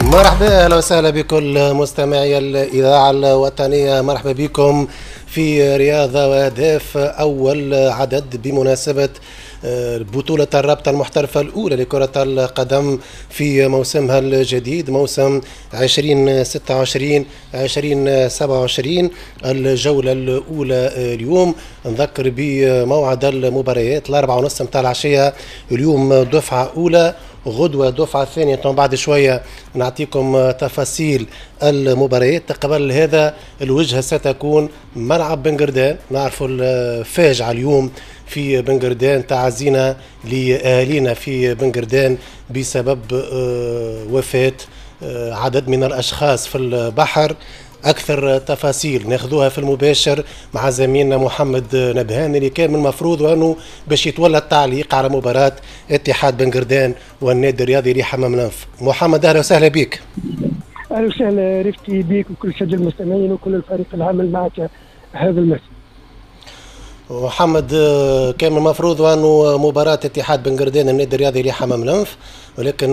مرحبا، اهلا وسهلا بكل مستمعي الاذاعة الوطنيه. مرحبا بكم في رياضة واهداف، اول عدد بمناسبة بطولة الرابطة المحترفة الأولى لكرة القدم في موسمها الجديد، موسم 2026 2027. الجولة الأولى اليوم. نذكر بموعد المباريات: 4:30 متاع العشية اليوم دفعة أولى، غدوة دفعة ثانية. بعد شوية نعطيكم تفاصيل المباريات. قبل هذا، الوجهة ستكون ملعب بنقردان. نعرفوا الفاجعة اليوم في بنقردان، تعازينا لأهالينا في بنقردان بسبب وفاة عدد من الأشخاص في البحر. أكثر تفاصيل ناخذوها في المباشر مع زميلنا محمد نبهان، اللي كان من المفروض وأنه باش يتولى التعليق على مباراة اتحاد بنقردان والنادي الرياضي لحمام الأنف. محمد، أهلا وسهلا بك. اهلا وسهلا رفقي بك وكل السادة المستمعين وكل الفريق العامل معك هذا المساء. محمد، كان من المفروض أنه مباراة اتحاد بنقردان النادي الرياضي لحمام الأنف، ولكن